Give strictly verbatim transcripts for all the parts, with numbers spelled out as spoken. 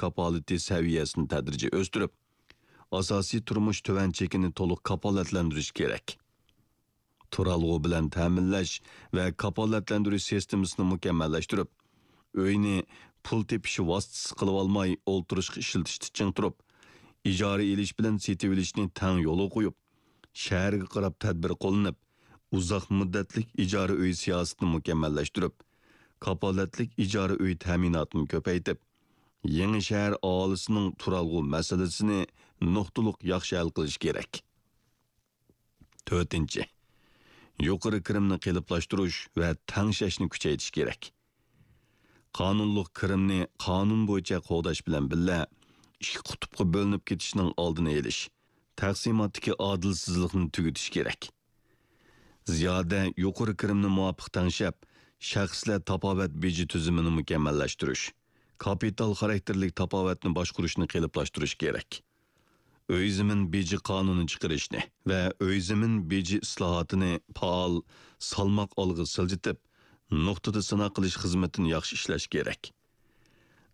كاپالىتى سەۋىيەسىنى تەدرىجىي ئۆستۈرۈپ، ئاساسىي تۇرمۇش تۆۋەن چېكىنى تولۇق كاپالەتلەندۈرۈش كېرەك. تۇرالغۇ بىلەن تەمىنلەش ۋە كاپالەتلەندۈرۈش سىستېمىسىنى مۇكەممەللەشتۈرۈپ، ئۆينى پۇل تېپىش ۋاسىتىسى قىلىۋالماي ئولتۇرۇشقا ئىشلىتىشنى چىڭ تۇرۇپ، ئىجارە ئېلىش بىلەن سېتىۋېلىشنى تەڭ يولغا قويۇپ، شەھەرگە قاراپ تەدبىر قوللىنىپ، ئۇزاق مۇددەتلىك ئىجارە ئۆي سىياسىتىنى مۇكەممەللەشتۈرۈپ، كاپالەتلىك ئىجارە ئۆي تەمىناتىنى كۆپەيتىپ، يېڭى شەھەر ئاھالىسىنىڭ تۇرالغۇ مەسىلىسىنى نۇقتىلىق ياخشى ھەل قىلىش كېرەك. تۆتىنچى، يۇقىرى كىرىمنى قېلىپلاشتۇرۇش ۋە تەڭشەشنى كۈچەيتىش كېرەك. قانۇنلۇق كىرىمنى قانۇن بويىچە قوغداش بىلەن بىللە، ئىككى قۇتۇپقا بۆلۈنۈپ كېتىشنىڭ ئالدىنى ئېلىش، تەقسىماتتىكى ئادىلسىزلىقنى تۈگىتىش كېرەك. زىيادە يۇقىرى كىرىمنى مۇۋاپىق تەڭشەپ، شەخسلەر تاپاۋەت بېجى تۈزۈمىنى مۇكەممەللەشتۈرۈش، كاپىتال خاراكتېرلىك تاپاۋەتنى باشقۇرۇشنى قېلىپلاشتۇرۇش كېرەك. ئۆي زېمىن بېجى قانۇنى چىقىرىشنى ۋە ئۆي زېمىن بېجى ئىسلاھاتىنى پائال، سالماق ئالغا سىلجىتىپ، نۇقتىدا سىناق قىلىش خىزمىتىنى ياخشى ئىشلەش كېرەك.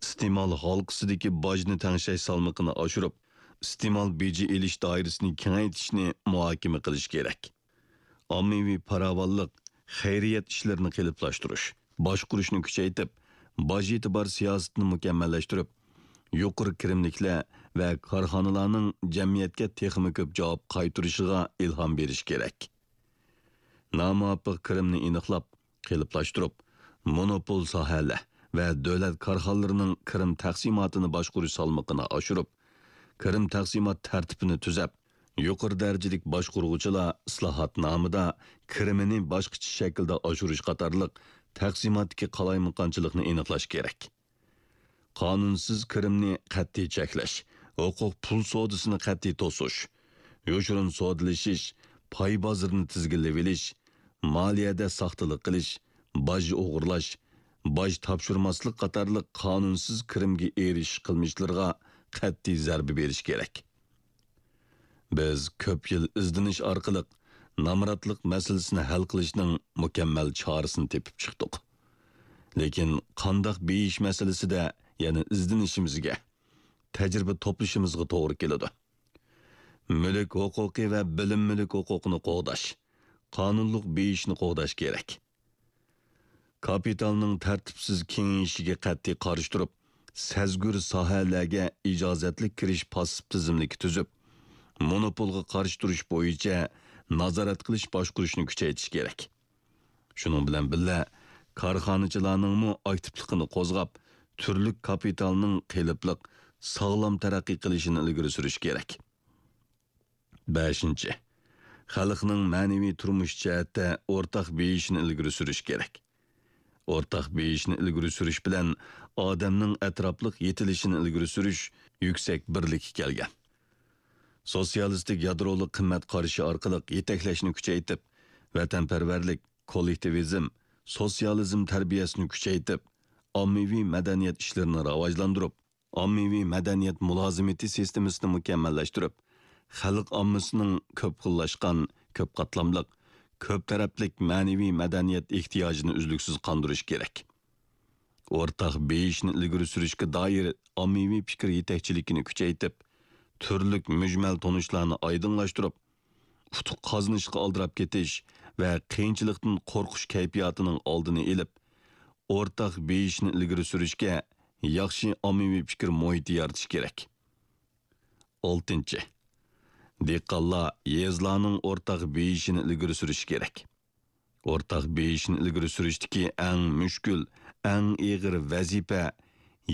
ئىستېمال ھالقىسىدىكى باجنى تەڭشەش سالمىقىنى ئاشۇرۇپ، ئىستېمال بېجى ئېلىش دائىرىسىنى كېڭەيتىشنى مۇھاكىمە قىلىش كېرەك. ئاممىۋى پاراۋانلىق، خەيرىيەت ئىشلىرىنى قېلىپلاشتۇرۇش، باشقۇرۇشنى كۈچەيتىپ، باج ئېتىبار سىياسىتىنى مۇكەممەللەشتۈرۈپ، يۇقىرى كىرىملىكلەر ۋە كارخانىلارنىڭ جەمئىيەتكە تېخىمۇ كۆپ جاۋاب قايتۇرۇشىغا ئىلھام بېرىش كېرەك. نامۇۋاپىق كىرىمنى ئېنىقلاپ، قېلىپلاشتۇرۇپ، مونوپول ساھەلەر ۋە دۆلەت كارخانىلىرىنىڭ كىرىم تەقسىماتىنى باشقۇرۇش سالمىقىنى ئاشۇرۇپ، كىرىم تەقسىمات تەرتىپىنى تۈزەپ، يۇقىرى دەرىجىلىك باشقۇرغۇچىلار ئىسلاھاتنامىدا كىرىمىنى باشقىچە شەكىلدە ئاشۇرۇش قاتارلىق تەقسىماتتىكى قالايمىقانچىلىقنى ئېنىقلاش كېرەك. قانۇنسىز كىرىمنى قەتئىي چەكلەش، ھوقۇق پۇل سودىسىنى قەتئىي توسۇش، يوشۇرۇن سودىلىشىش، پاي بازىرىنى تىزگىنلىۋېلىش، مالىيەدە ساختىلىق قىلىش، باج ئوغرىلاش، باج تاپشۇرماسلىق قاتارلىق قانۇنسىز كىرىمگە ئېرىشىش قىلمىشلىرىغا قەتئىي زەربە بېرىش كېرەك. بىز كۆپ يىل ئىزدىنىش ئارقىلىق نامراتلىق مەسىلىسىنى ھەل قىلىشنىڭ مۇكەممەل چارىسىنى تېپىپ چىقتۇق. لېكىن قانداق بېيىش مەسىلىسىدە يەنە ئىزدىنىشىمىزگە، تەجرىبە توپلىشىمىزغا توغرا كېلىدۇ. مۈلۈك ھوقۇقى ۋە بىلىم مۈلۈك ھوقۇقىنى قوغداش، قانۇنلۇق بېيىشنى قوغداش كېرەك. كاپىتالنىڭ تەرتىپسىز كېڭىيىشىگە قەتئىي قارشى تۇرۇپ، سەزگۈر ساھەلەرگە ئىجازەتلىك كىرىش پاسسىپ تىزىملىكى تۈزۈپ، مونوپولغا قارشى تۇرۇش بويىچە نازارەت قىلىش باشقۇرۇشنى كۈچەيتىش كېرەك. شۇنىڭ بىلەن بىللە، كارخانىچىلارنىڭمۇ ئاكتىپلىقىنى قوزغاپ، تۈرلۈك كاپىتالنىڭ قېلىپلىق، ساغلام تەرەققىي قىلىشىنى ئىلگىرى سۈرۈش كېرەك. بەشىنچى، خەلقنىڭ مەنىۋى تۇرمۇش جەھەتتە ئورتاق بېيىشىنى ئىلگىرى سۈرۈش كېرەك. ئورتاق بېيىشنى ئىلگىرى سۈرۈش بىلەن ئادەمنىڭ ئەتراپلىق يېتىلىشىنى ئىلگىرى سۈرۈش يۈكسەك بىرلىككە كەلگەن. سوتسىيالىستىك يادرولۇق قىممەت قارىشى ئارقىلىق يېتەكلەشنى كۈچەيتىپ، ۋەتەنپەرۋەرلىك، كوللېكتىۋىزم، سوتسىيالىزم تەربىيەسىنى كۈچەيتىپ، ئاممىۋى مەدەنىيەت ئىشلىرىنى راۋاجلاندۇرۇپ، ئاممىۋى مەدەنىيەت مۇلازىمىتى سىستېمىسىنى مۇكەممەللەشتۈرۈپ، خەلق ئاممىسىنىڭ كۆپ خىللاشقان، كۆپ قاتلاملىق، كۆپ تەرەپلىك مەنىۋى مەدەنىيەت ئېھتىياجىنى ئۈزلۈكسىز قاندۇرۇش كېرەك. ئورتاق بېيىشنى ئىلگىرى سۈرۈشكە دائىر ئاممىۋى پىكىر يېتەكچىلىكىنى كۈچەيتىپ، تۈرلۈك مۈجمەل تونۇشلارنى ئايدىڭلاشتۇرۇپ، ئۇتۇق قازىنىشقا ئالدىراپ كېتىش ۋە قىيىنچىلىقتىن قورقۇش كەيپىياتىنىڭ ئالدىنى ئېلىپ، ئورتاق بېيىشنى ئىلگىرى سۈرۈشكە ياخشى ئاممىۋى پىكىر مۇھىتى يارىتىش كېرەك. ئالتىنچى، دېھقانلار يېزىلارنىڭ ئورتاق بېيىشىنى ئىلگىرى سۈرۈشى كېرەك. ئورتاق بېيىشنى ئىلگىرى سۈرۈشتىكى ئەڭ مۈشكۈل، ئەڭ ئېغىر ۋەزىپە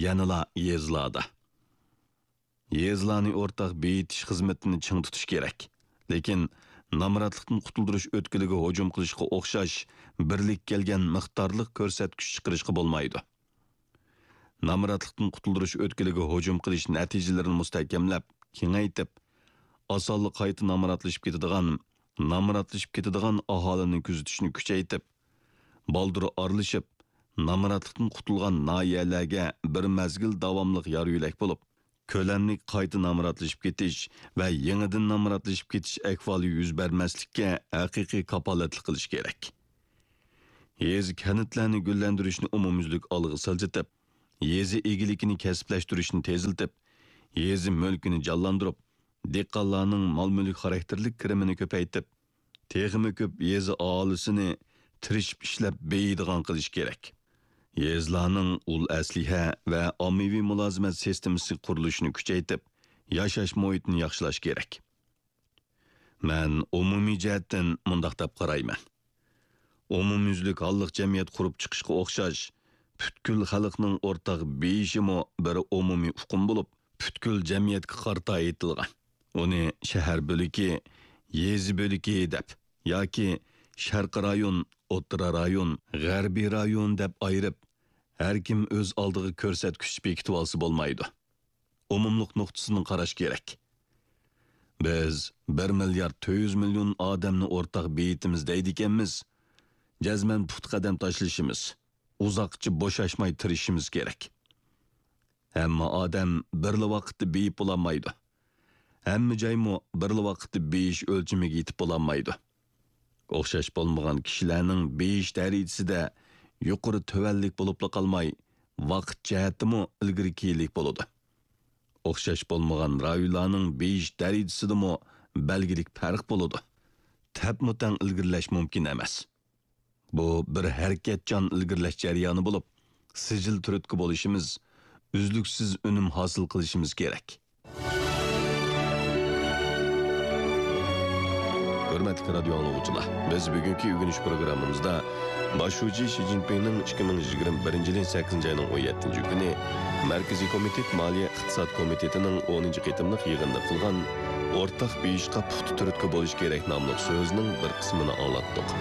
يەنىلا يېزىلاردا. يېزىلارنى ئورتاق بېيىتىش خىزمىتىنى چىڭ تۇتۇش كېرەك. لېكىن نامراتلىقتىن قۇتۇلدۇرۇش ئۆتكىلىگە ھۇجۇم قىلىشقا ئوخشاش بىرلىككە كەلگەن مىقدارلىق كۆرسەتكۈچ چىقىرىشقا بولمايدۇ. نامراتلىقتىن قۇتۇلدۇرۇش ئۆتكىلىگە ھۇجۇم قىلىش نەتىجىلىرىنى مۇستەھكەملەپ، كېڭەيتىپ، ئاسانلا قايتا نامراتلىشىپ كېتىدىغان، نامراتلىشىپ كېتىدىغان ئاھالىنى كۆزىتىشنى كۈچەيتىپ، بالدۇر ئارىلىشىپ، نامراتلىقتىن قۇتۇلغان ناھىيەلەرگە بىر مەزگىل داۋاملىق يار-يۆلەك بولۇپ، كۆلەملىك قايتا نامراتلىشىپ كېتىش ۋە يېڭىدىن نامراتلىشىپ كېتىش ئەھۋالى يۈز بەرمەسلىككە ھەقىقىي كاپالەتلىك قىلىش كېرەك. يېزا، كەنتلەرنى گۈللەندۈرۈشنى ئومۇميۈزلۈك ئالغا سىلجىتىپ، يېزا ئىگىلىكىنى كەسىپلەشتۈرۈشنى تېزلىتىپ، يېزا مۈلكىنى جانلاندۇرۇپ، دېھقانلارنىڭ مال-مۈلۈك خاراكتېرلىك كىرىمىنى كۆپەيتىپ، تېخىمۇ كۆپ يېزا ئاھالىسىنى تىرىشىپ ئىشلەپ بېيىيدىغان قىلىش كېرەك. يېزىلارنىڭ ئۇل ئەسلىھە ۋە ئاممىۋى مۇلازىمەت سىستېمىسى قۇرۇلۇشىنى كۈچەيتىپ، ياشاش مۇھىتىنى ياخشىلاش كېرەك. مەن ئومۇمىي جەھەتتىن مۇنداق دەپ قارايمەن. ئومۇميۈزلۈك ھاللىق جەمئىيەت قۇرۇپ چىقىشقا ئوخشاش، پۈتكۈل خەلقنىڭ ئورتاق بېيىشىمۇ بىر ئومۇمىي ئۇقۇم بولۇپ، پۈتكۈل جەمئىيەتكە قارىتا ئېيتىلغان. ئۇنى شەھەر بۆلىكى، يېزا بۆلىكى دەپ ياكى شەرقىي رايون، ئوتتۇرا رايون، غەربىي رايون دەپ ئايرىپ، ھەر كىم ئۆز ئالدىغا كۆرسەتكۈچ بېكىتىۋالسا بولمايدۇ. ئومۇملۇق نۇقتىسىدىن قاراش كېرەك. بىز بىر مىليارد تۆت يۈز مىليون ئادەمنى ئورتاق بېيىتىمىز دەيدىكەنمىز، جەزمەن پۇختا قەدەم تاشلىشىمىز، ئۇزاققىچە بوشاشماي تىرىشىشىمىز كېرەك. ھەممە ئادەم بىرلا ۋاقىتتا بېيىپ بولالمايدۇ. ھەممە جايمۇ بىرلا ۋاقىتتا بېيىش ئۆلچىمىگە يېتىپ بولالمايدۇ. ئوخشاش بولمىغان كىشىلەرنىڭ بېيىش دەرىجىسىدە يۇقىرى تۆۋەنلىك بولۇپلا قالماي، ۋاقىت جەھەتتىمۇ ئىلگىرى كېيىنلىك بولىدۇ. ئوخشاش بولمىغان رايونلارنىڭ بېيىش دەرىجىسىدىمۇ بەلگىلىك پەرق بولىدۇ. تەپمۇتەڭ ئىلگىرىلەش مۇمكىن ئەمەس. بۇ بىر ھەرىكەتچان ئىلگىرىلەش جەريانى بولۇپ، سىجىل تۈرتكە بولۇشىمىز، ئۈزلۈكسىز ئۈنۈم ھاسىل قىلىشىمىز كېرەك. ھۆرمەتلىك رادىيو ئاڭلىغۇچىلار، بىز بۈگۈنكى ئۆگىنىش پروگراممىمىزدا باش شۇجى شى جىنپىڭنىڭ ئىككى مىڭ يىگىرمە بىرىنچى يىلى سەككىزىنچى ئاينىڭ ئون يەتتىنچى كۈنى مەركىزىي كومىتېت مالىيە ئىقتىساد كومىتېتىنىڭ ئونىنچى قېتىملىق يىغىنىدا قىلغان ئورتاق بېيىشقا پۇختا تۈرتكە بولۇش كېرەك ناملىق سۆزىنىڭ بىر قىسمىنى ئاڭلاتتۇق.